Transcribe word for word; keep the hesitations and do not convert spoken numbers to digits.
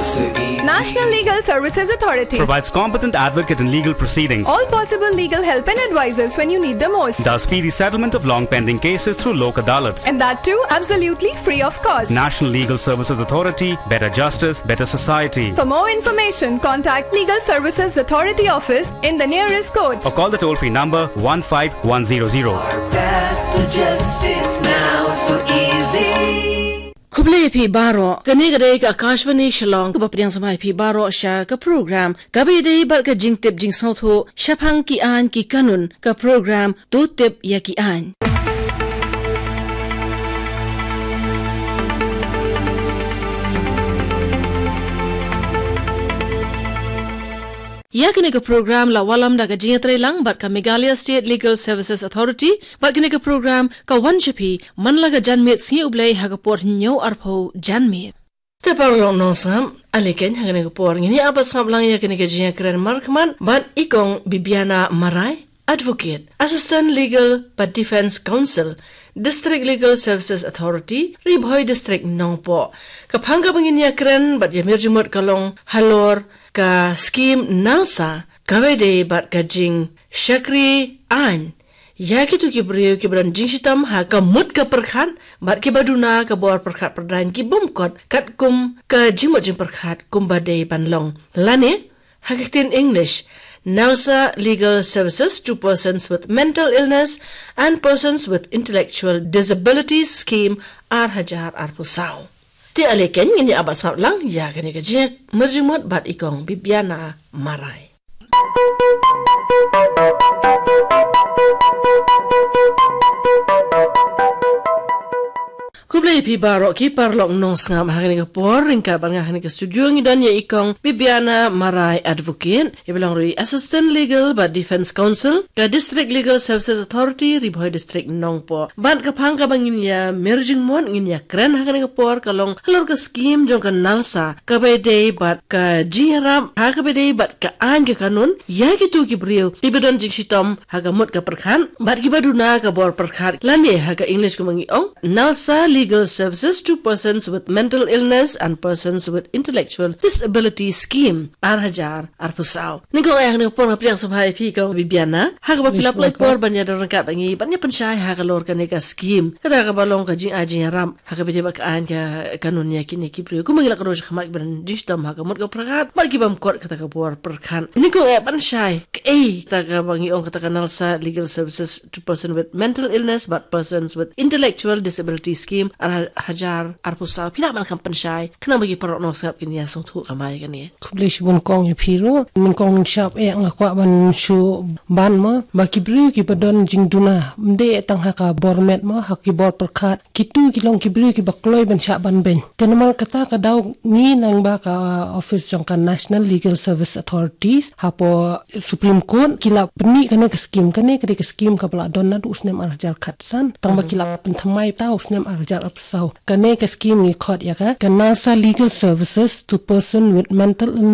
National Legal Services Authority provides competent advocate in legal proceedings. All possible legal help and advices when you need the most. Does speedy settlement of long pending cases through Lok Adalats. And that too absolutely free of cost. National Legal Services Authority, better justice, better society. For more information, contact Legal Services Authority office in the nearest court. Or call the toll-free number one five one zero zero. Path to justice now so easy. Khublei phi baroh, kane ka dei ka Akashvani Shillong, kaba pdiang sngewbha ïa phi baroh sha ka program kaba ïadei bad ka jingtip jingsngewthuh shaphang ki aiñ ki kanun, ka program To Tip ïa ki Aiñ. Ïa kane ka program la wallam da ka jingïatreilang bad ka Meghalaya State Legal Services Authority, bad kane ka program ka wan sha phi man la ka janmiet sngi U Blei ha ka por hynñiew arphew janmiet. Te paralok nongsngap, ale keiñ ha kane ka por ngin ïa ap sngap lang ïa kane ka jingïakren markhmat bad i Kong Bibiana Marai, Advocate, Assistant Legal bad Defence Counsel, District Legal Services Authority, Ri Bhoi District, Nongpoh. Ka phang kaba ngin ïakren bad ïamir jingmut ka long halor ka scheme NALSA, kaba ïadei bad ka jingshakri aiñ ïa kito ki briew kiba don jingshitom ha ka mut ka pyrkhat bad kiba duna ka bor pyrkhat pyrdaiñ ki bym kot katkum ka jingmut jingpyrkhat kumba dei ban long. Lane, ha ka ktien English, NALSA Legal Services to Persons with Mental Illness and Persons with Intellectual Disabilities Scheme ar hajar arphew saw. Te ale keiñ ngin ïa ap sngap lang ïa kane ka jingïamir jingmut bad i Kong Bibiana Marai. Khublei phi baroh ki paralok nongsngap ha kane ka por, ryngkat bad nga ha kane ka studio ngi don ïa i Kong Bibiana Marai, Advocate, iba long ruh i Assistant Legal bad Defence Counsel ka District Legal Services Authority, Ri Bhoi District, Nongpoh. Bad ka phang kaba ngin ïamir jingmut, ngin ïakren ha kane ka por ka long halor ka scheme jong ka NALSA, kaba ïadei bad ka jingïarap ha kaba ïadei bad ka aiñ ka kanun ïa kito ki briew kiba don jingshitom ha ka mut ka pyrkhat bad kiba duna ka bor pyrkhat, lane ha ka English kumba ngi ong, NALSA Legal Services to Persons with Mental Illness and Persons with Intellectual Disability Scheme ar hajar arphew saw. Nyngkong eh, ha kane ka por nga pdiang sngewbha ïa phi Kong Bibiana ha kaba phi la pynlait por ban ïadon ryngkat bad ngi ban ïa pynshai halor kane ka scheme, kata kaba long ka jingai jingïarap ha kaba ïadei bad ka aiñ ka kanun ïa kine ki briew, kumba ngi la kdew shakhmat, kiba don jingshitom ha ka mut ka pyrkhat bad ki bym kot kata ka bor pyrkhat. Nyngkong eh, ban shai, kaei kata kaba ngi ong kata ka NALSA Legal Services to Person with Mental Illness bad Persons with Intellectual Disability Scheme ar hajar arphew saw? Phi lah ban kham pynshai khnang ba ki paralok nongsngap kin ïa sngewthuh kamai kane. Khublei shibun Kong ïa phi ruh. Nyngkong nyngshap eh nga kwah ban shu ban mo ba ki briew kiba don jingduna, ym dei tang ha ka bor met mo, ha ki bor pyrkhat, kito ki long ki briew kiba kloi ban shah ban beiñ. Te namar kata ka daw ngi nang ba ka office jong ka National Legal Service Authorities hapoh Supreme Court ki la pynmih kane ka scheme. Kane ka dei ka scheme kaba la don naduh u snem ar hajar khatsan, tang ba ki la pynthymmai ta u snem ar hajar arphew saw. Kane ka scheme ngi khot ïa ka, ka NALSA Legal Services to Person with Mental Illness